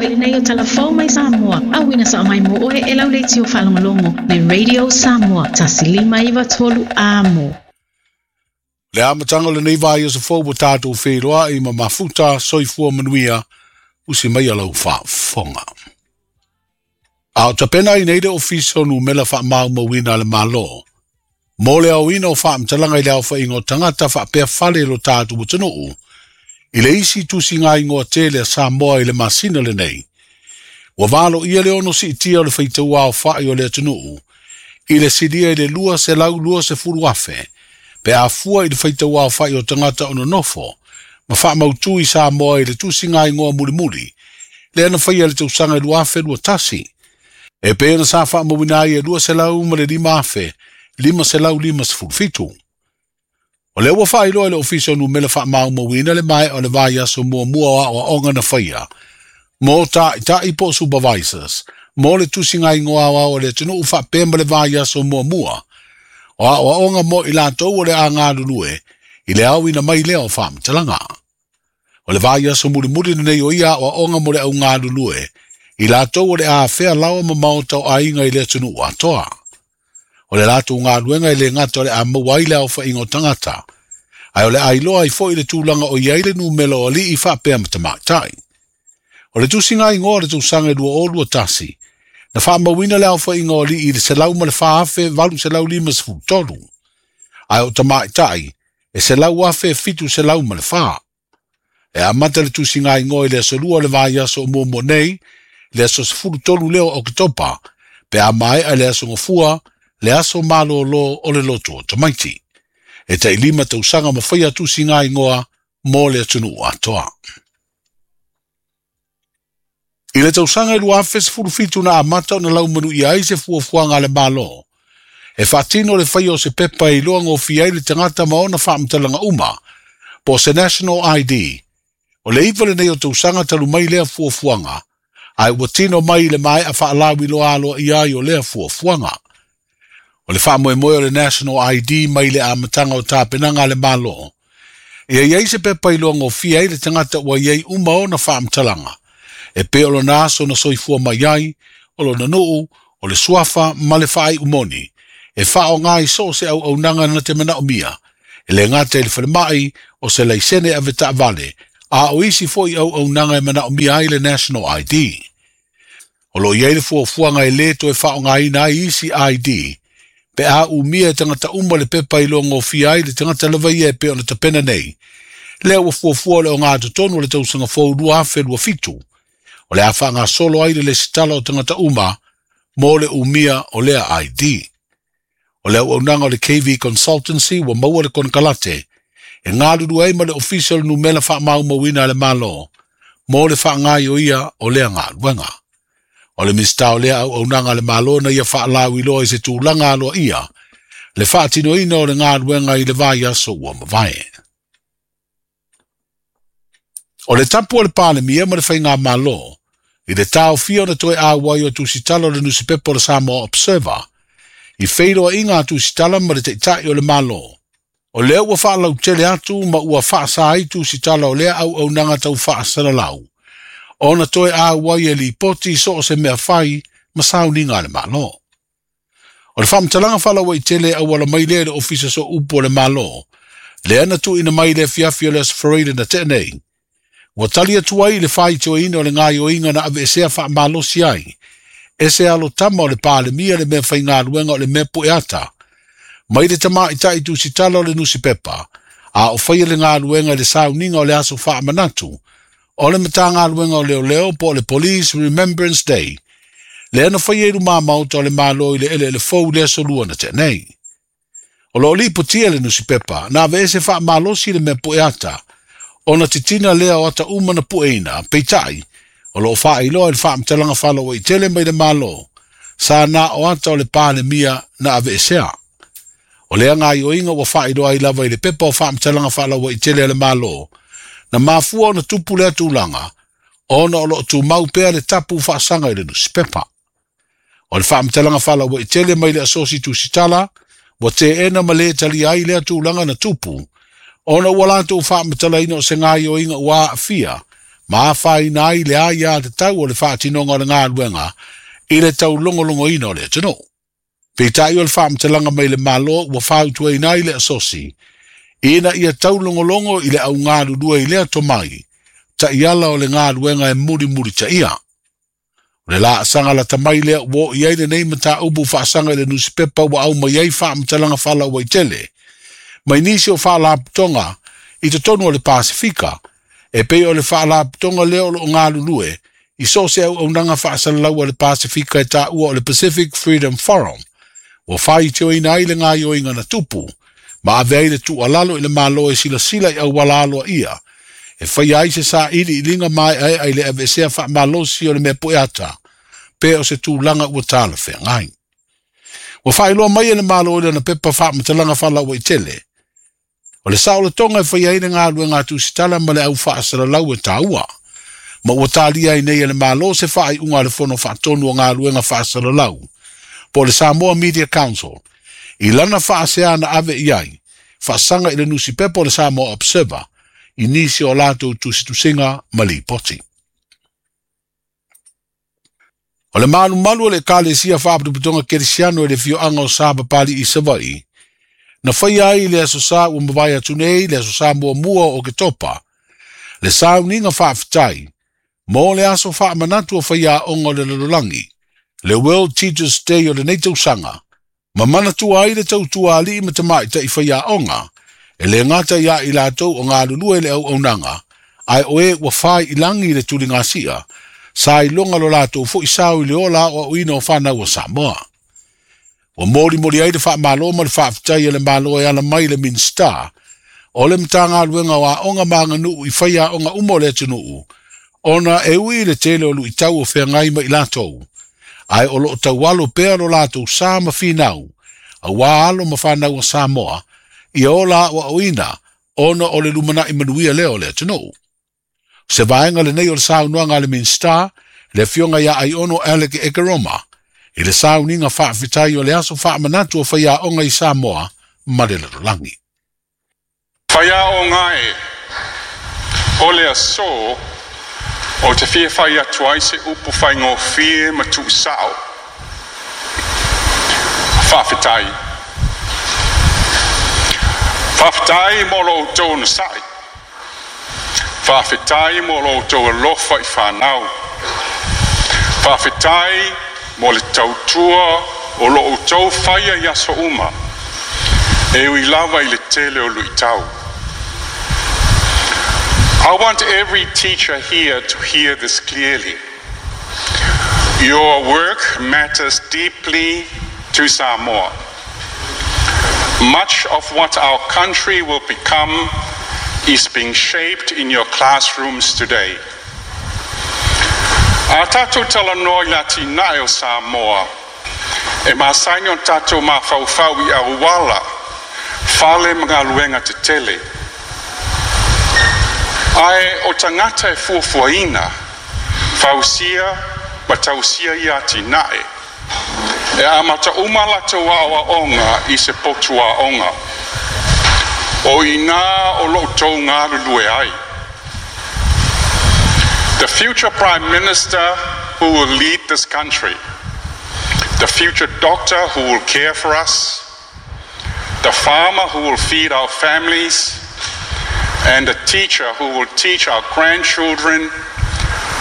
Foi lenei o Tala Fou mai Samoa, auina sao mai mo oe e lau leitio faalogologo le Radio Samoa 1593 Amo. Le amataga o lenei vaiaso fou ua tatou feiloai ma mafuta soifua manuia usi mai a lau faafofoga. A o tapena ai nei le Ofisa o Numela Faamaumauina a le Malo mo le aoina o faamatalaga i le aofaiga o tagata faapea fale i lo tatou atunuu i le isi tusiga igoa tele a Samoa i le masina lenei. Ua valoia le ono siitia o le faitau aofai o le atunuu i le silia i le 220,000 pe a fua i le faitau aofai o tagata o nonofo ma faamautu i Samoa i le tusiga igoa mulimuli lea na faia i le tausaga 2021. E pei ona sa faamauina ai e 205,557. O lea ua faailoa e le Ofisa o Numela Faamaumauina le maea o le vaiaso muamua o aoaoga na faia mo taitai po o supervisors mo le tusiga igoa aoao o le atunuu faapea ma le vaiaso muamua o aoaoga mo i latou o le a galulue i le aoina mai lea o faamatalaga. O le vaiaso mulimuli lenei o ia aoaoga mo le au galulue i latou o le a afea laoa ma maota o aiga i le atunuu atoa. O le latou galuega e le gata o le a maua ai le aofaiga o tagata, ae o le a iloa ai foi le tulaga o i ai le numera o alii faapea ma tamaitai. O le tusiga igoa o le tausaga e 2021, na faamauina le aofaiga o alii i le 104,853, ae o tamaitai e 100,704. E amata le tusiga igoa i le aso 2 o le vaiaso o muamua nei, le aso 13 lea o Oketopa, pe a maea le aso Gafua, le aso malolo o le lotu o tamaiti. E tai 5 tausaga ma faia tusiga igoa mo le atunuu atoa. I le tausaga e 2017 na amata ona laumanuia ai se fuafuaga a le Malo. E faatino le faia o se pepa e iloa gofie ai le tagata ma ona faamatalaga uma, po o se National ID. O le 9 lenei o tausaga talu mai lea fuafuaga, ae ua tino mai i le maea faalauiloa aloaia ai o lea fuafuaga. O le faamoemoe o le National ID mai le amataga o tapenaga a le Malo. Ia i ai se pepa iloa gofie ai le tagata ua i ai uma ona faamatalaga, e pei o lona aso na soifua mai ai, o lona nuu, o le suafa ma le faaiu moni, e faaaoga i so o se auaunaga na te manaomia, e le gata i le falemai o se laisene ave taavale, a o isi foi auaunaga e manaomia ai le National ID. O lo o i ai le fuafuaga e lē toe faaaogaina ai isi ID, pe a umia e tagata uma le pepa iloa gofie ai le tagata lava ia e pei ona tapena nei. Lea ua fuafua o le ogatotonu o le tausaga fou 2027, o le a faagasolo ai le lesitala o tagata uma mo le umia o lea ID. O le auaunaga o le KV Consultancy ua maua le konekarate e galulue ai ma le Ofisa o le Numela Faamaumauina a le Malo mo le faagaioia o lea galuega. O le Minisita o lea auaunaga a le Malo na ia faalauiloa i se tulaga aloaia le faatinoina o le galuega i le vaiaso ua mavae. O le tapu o le Palemia ma le Faigamalo i le taofia ona toe auai o tusitala o le nusipepa o le Samoa Observer i feiloaiga a tusitala ma le taitai o le Malo. O lea ua faalautele atu ma ua faasa ai tusitala o lea auaunaga tau faasalalau, ona toe auai e lipoti so o se mea fai ma sauniga a le Malo. O le faamatalaga faalauaitele auala mai lea i le Ofisa Sooupu o le Malo, lea na tuuina mai le afiafi o le Aso Faraile na tea nei. Ua tali atu ai i le faitioina o le gaioiga na aveesea faamalosi ai, e se alotama o le Palemia le mea faigaluega o le mea pueata, mai le tamaitai tusitala o le nusipepa, a o faia le galuega i le sauniga o le aso faamanatu, o le Matagaluega o Leoleo po o le Police Remembrance Day, lea na faia i luma maota o le Malo i le eleele fou le aso 2 na tea nei. O lo o lipotia le nusipepa na aveese faamalosi le mea pueata, ona titina lea o ata uma na pueina, peitai, o lo o faailoa i le faamatalaga faalauaitele mai le Malo, sa na o ata o le Palemia na aveesea. O lea gaioiga ua faailoa ai lava i le pepa o faamatalaga faalauaitele a le Malo, na mafua ona tupu lea tulaga, ona o lo o tumau pea le tapu faasaga i le nusipepa. O le faamatalaga faalauaitele mai le asosi tusitala, ua teena ma le talia ai lea tulaga na tupu, ona ua latou faamatalaina o se gaioiga ua aafia ma afaina ai le aiatatau o le faatinoga o le galuega i le taulogologoina o le atunuu. Peitai o le faamatalaga mai le Malo ua fautuaina ai le asosi ina ia taulogologo i le augalulue i lea tomai ta'iala o le galuega e mulimulitaia. O le laasaga lata mai lea ua oo i ai lenei mataupu faasaga i le nusipepa ua aumai ai faamatalaga faalauaitele mai nisi o faalapotopotoga i totonu o le Pasefika e pei o le faalapotopotoga lea o loo galulue i so o se auaunaga faasalalau a le Pasefika e taua o le Pacific Freedom Forum ua faitioina ai le gaoioiga na tupu ma ave ai le tuualalo i le Malo e silasila i auala aloaia e faia ai se sailiiliga maeaea i le aveesea faamalosi o le mea pueata pe o se tulaga ua talafeagai. Ua faailoa mai e le Malo i lana pepa faamatalaga faalauaitele o le saolotoga e faia ai le galuega a tusitala ma le au faasalalau e taua ma ua talia ai nei e le Malo se faaiuga a le Fono Faatonu o Galuega Faasalalau po o le Samoa Media Council i lana faasea na ave i ai faasaga i le nusipepa o le Samoa Observer i nisi o latou tusitusiga ma lipoti. O le malumalu o le Ekalesia Faapotopotoga Kerisiano i le afioaga o Sapapali'i i Savaii, na faia ai i le Aso Sa ua mavae atu nei, le Aso Sa muamua o Oketopa, le sauniga faafetai mo le aso faamanatu o faiaoga o le lalolagi, le World Teachers Day o lenei tausaga, ma manatua ai le tautua alii ma tamaitai faiaoga, e le gata iā i latou o galulue i le auaunaga, ae o e ua fai i lagi i le tuligasia, sa iloga lo latou foi sao i le ola aoaoina o fanau a Samoa. Ua molimoli ai le faamalo ma le faafetai a le Malo e ala mai i le Minisita o le Matagaluega o Aoga ma Aganuu i faiaoga uma o le atunuu, ona e ui i le tele o luitau o feagai ma i latou, ae o lo o taualo pea lo latou sa ma finau, auā alo ma fanau a Samoa, ia ola aoaoina ona o le lumanai manuia lea o le atunuu. O se vaega lenei o le saunoaga a le Minisita, le Afioga ia Aiono Alec Ekeroma, i le sauniga faafetai o le aso faamanatu o faiaoga i Samoa ma le lalolagi. Faiaoga e, o le aso ou te fia fai atu ai se upu faigofie ma tuusao. Faafetai. Faafetai mo lo outou onosai. Faafetai mo lo outou alofa i fanau. Faafetai mo le tautua o lo outou faia i aso uma, e ui lava i le tele o luitau. I want every teacher here to hear this clearly. Your work matters deeply to Samoa. Much of what our country will become is being shaped in your classrooms today. A tatou talanoa i le atinae o Samoa, e masani ona tatou mafaufau i auala, fale ma galuega tetele. Ae o tagata e fuafuaina, fausia ma tausia ia atinae, e amata uma latou aoaoga i se potu aoga. O i ina o lo outou galulue ai. The future Prime Minister who will lead this country, the future doctor who will care for us, the farmer who will feed our families, and the teacher who will teach our grandchildren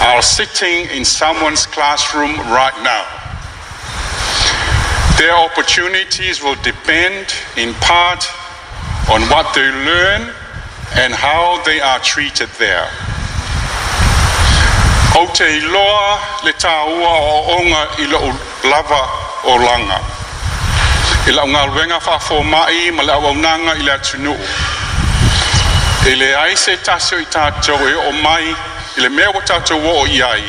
are sitting in someone's classroom right now. Their opportunities will depend in part on what they learn and how they are treated there. Ou te iloa le tāua o aoaoga i lou lava olaga, i lau galuega faafoma'i ma le auaunaga i le atunuu. E leai se tasi o i tatou e oo mai i le mea ua tatou oo i ai,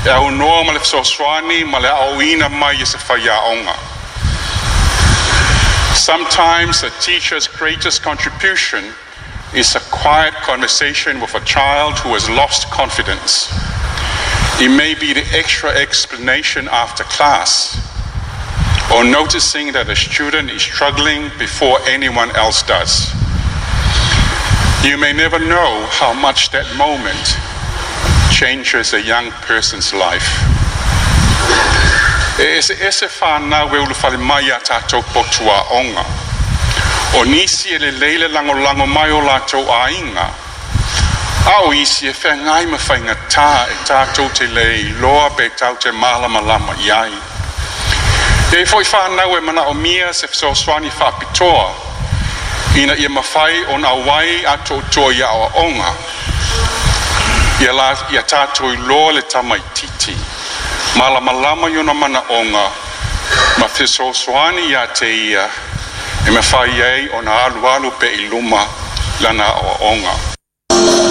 e aunoa ma le fesoasoani ma le aoaoina mai e se faiaoga. Sometimes a teacher's greatest contribution is a quiet conversation with a child who has lost confidence. It may be the extra explanation after class, or noticing that a student is struggling before anyone else does. You may never know how much that moment Changes a young person's life. E eseese fanau e ulufale mai i a tatou potu aoga. O nisi e lelei le lagolago mai o latou aiga, a o isi e feagai ma faigatā e tatou te le iloa pe tatou te malamalama i ai. E i ai foi fanau e manaomia se fesoasoani faapitoa ina ia mafai ona auai atoatoa i aoaoga. Ia, la, ia tatou iloa le tamaititi, malamalama i ona manaoga ma fesoasoani ia te ia e mafai ai ona alualu pea i luma lana aoaoga.